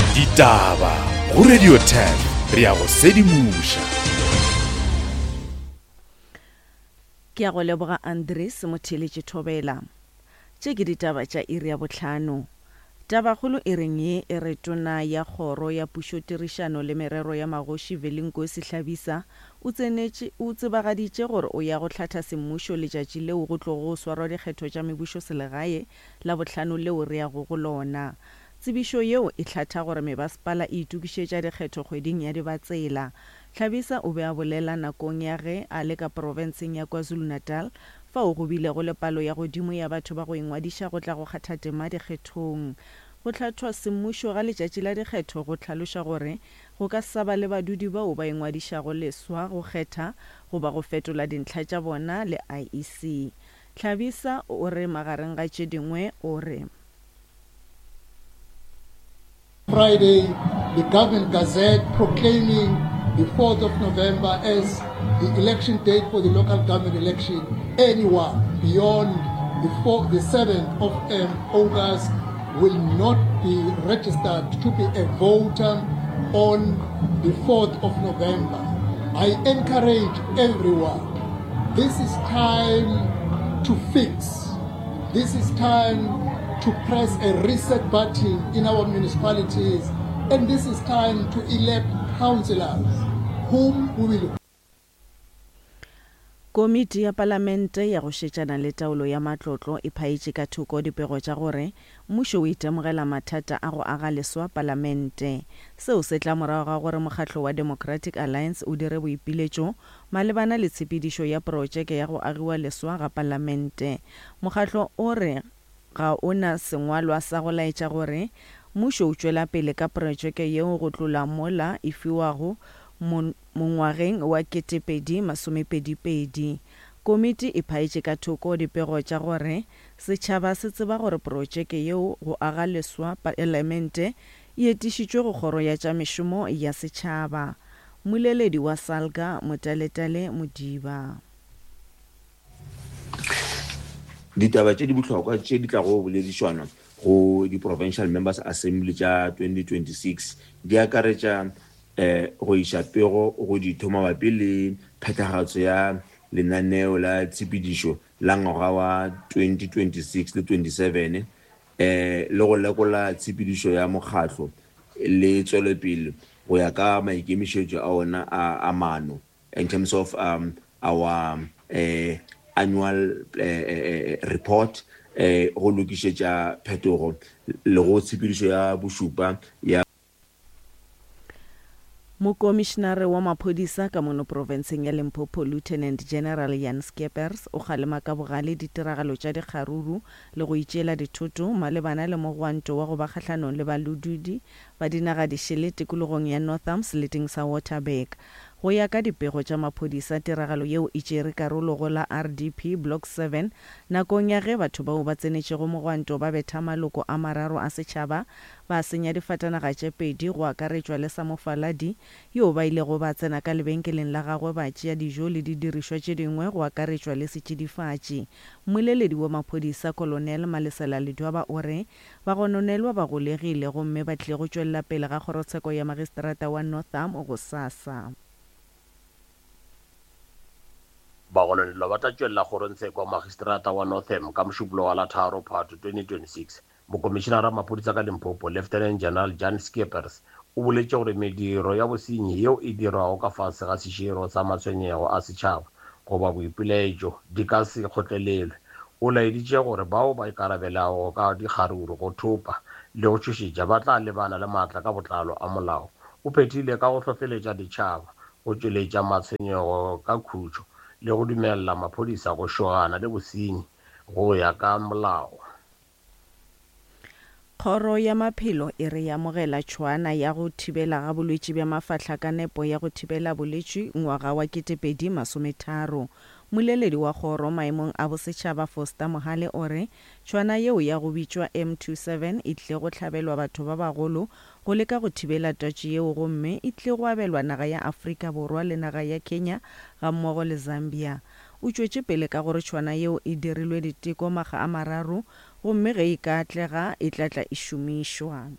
Ditaba go Radio 10 re ya go sedimoša. Ke a go leboga Andries Motheeletši Thobela. Tše ke ditaba tša iri ya bohlano. Tabakgolo e reng ye e re Tona ya Kgoro ya Pušotirišano le Merero ya Magoši Velinkosi Hlabisa o tsenetše o tsebagaditše gore o ya go hlatha semmušo letšatši leo go tlogo go swarwa dikgetho tša mebušoselegae Labohlano leo re yago go lona. Tsebišo yeo e hlatha gore mebasepala e itokišetša dikgetho kgweding ya Dibatsela. Hlabisa o be a bolela nakong ya ge a le ka profenseng ya KwaZulu-Natal fao go bilego le palo ya godimo ya batho ba go ingwadiša go tla go kgatha tema dikgethong. Go hlathwa semmušo ga letšatši la dikgetho go hlaloša gore go ka sa ba le badudi bao ba ingwadišago leswa go kgetha goba go fetola dintlha tša bona le IEC. Hlabisa o re magareng ga tše dingwe o re. Friday, the Government Gazette proclaiming the 4th of November as the election date for the local government election. Anyone beyond the, 4, the 7th of um, August will not be registered to be a voter on the 4th of November. I encourage everyone, this is time to fix. This is time to press a reset button in our municipalities. And this is time to elect councillors whom we will Komiti ya Palamente ya go šetšana le taolo ya matlotlo e phaetše ka thoko dipego tša gore mmušo o itemogela mathata a go aga leswa Palamente. Seo se tla morago ga gore mokgatlo wa Democratic Alliance o dire boipiletšo malebana le tshepedišo ya protšeke ya go agiwa leswa ga Palamente. Mokgatlo o re ga o na sengwalwa sa go laetša gore mmušo o tšwela pele ka protšeke yeo go tlola mola e fiwago mongwageng wa 2022. Komiti e phaetše ka thoko dipego tša gore setšhaba se tseba gore protšeke yeo go aga leswa Palamente e etišitšwe go Kgoro ya tša Mešomo ya Setšhaba. Mmoleledi wa Salga, Motaletale Modiba. Ditaba tše di bohlokwa tše di tlago boledišanwa go di-Provincial Members Assembly tša 2026 di akaretša go iša pego go ditho mabapi le phethagatšo ya lenaneo la tshepedišo la ngwaga wa 2026 le 27 le go lekola tshepedišo ya mokgatlo le tšwelopele go ya ka maikemišetšo a ona a maano in terms of um, our uh, annual uh, report go lokišetša phetogo le go tshepedišo ya bošupa ya Mokomišenare wa maphodisa ka mono profenseng ya Limpopo Lieutenant General Jan Skeepers o kgalema ka bogale ditiragalo tša dikgaruru le go itšeela dithoto malebana le mogwanto wa go ba kgahlanong le balududi ba dinaga dišele tikologong ya Northam seleteng sa Waterberg. Go ya ka dipego tša maphodisa tiragalo yeo e tšere karolo go la RDP Block 7 nakong ya ge batho bao ba tsenetšego mogwanto ba betha maloko a mararo a setšhaba Ba senya difatanaga tše pedi, go akaretšwa le sa mofaladi yoo ba ilego ba tsena ka lebenkeleng la gagwe ba tšea dijo le didirišwa tše dingwe go akaretšwa le setšidifatši. Mmoleledi wa maphodisa Colonel Malesela Ledwaba o re bagononelwa ba golegile gomme ba tlile go tšwelela pele ga kgorotsheko ya magistrata wa Northam gosasa. Bagononelwa ba tla tšwelela kgorongtsheko ya magistrata wa Northam ka Mošupologo wa la tharo Phato 2026. Mokomišenara wa maphodisa ka Limpopo, Lieutenant General Jan Skeepers, o boletše gore mediro ya bosenyi yeo e dirwago ka fase ga seširo sa matshwenyego a setšhaba goba boipilaetšo di ka se kgotlelelwe. O laeditše gore bao ba ikarabelago ka dikgaruru, go thopa le go tšhošetša ba tla lebana le maatla ka botlalo a molao. O phethile ka go hlohleletša ditšhaba go tšweletša matshwenyego ka khutšo le go dumelela maphodisa go šogana le bosenyi go ya ka molao. Kgoro ya Maphelo e re e amogela tšhwaana ya go thibela ga bolwetši bja mafahla ka nepo ya go thibela bolwetši ngwaga wa 2030. Mmoleledi wa kgoro maemong a bosetšhaba Foster Mohale o re tšhwaana yeo ya go bitšwa M27 e tlile go hlabelwa batho ba bagolo go leka go thibela twatši yeo gomme e tlile go abelwa naga ya Afrika Borwa le naga ya Kenya gammogo le Zambia. O tšwetše pele ka gore tšhwana yeo e dirilwe diteko makga a mararo gomme ge e ka atlega e tla tla e šomišwa.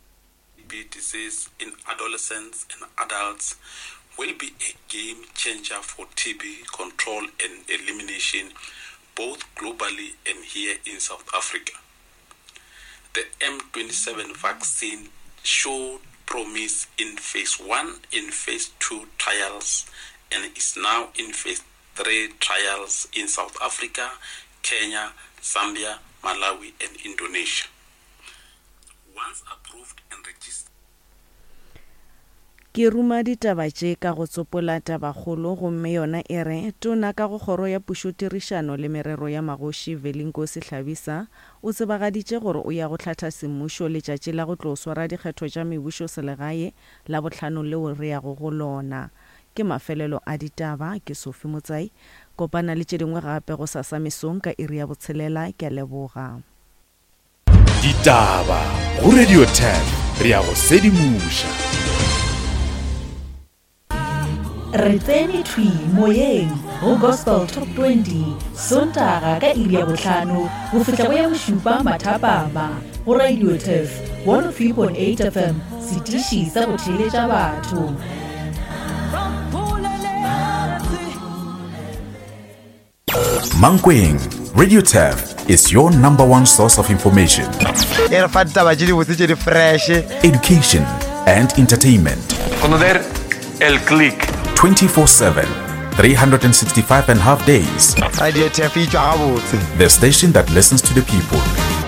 TB disease in adolescents and adults will be a game changer for TB control and elimination both globally and here in South Africa. The M27 vaccine showed promise in phase 1 and phase 2 trials and is now in phase 3 trials in South Africa, Kenya, Zambia, Malawi and Indonesia. Once approved and registered, Ke ruma ditaba tše ka go tsopola tabakgolo gomme yona e re, Tona ka go Kgoro ya Pušotirišano le Merero ya Magoši Velinkosi Hlabisa o tsebagaditše gore o ya go hlatha semmušo letšatši la go tlo swara dikgetho tša mebušoselegae Labohlano leo re yago go lona. Ke mafelelo a ditaba, ke Sophie Motsai. Kopana le tše dingwe gape gosasa mesong ka iri ya botshelela. Ke a leboga. Ditaba go Radio 10 re a go sedimoša. Re tsene thwi moyeng go Gospel Top 20 Sontaga ka iri ya bohlano go fihla go ya bošupa mathapama go Radio Turf 103.8 FM, setiši sa go theeletša batho. Mankweng, Radio Turf is your number one source of information. E re fa ditaba tše dibotse tše di fresh. Education and entertainment. Conocer el click. 24/7, 365 and half days. Radio Turf e tšwa gabotse. The station that listens to the people.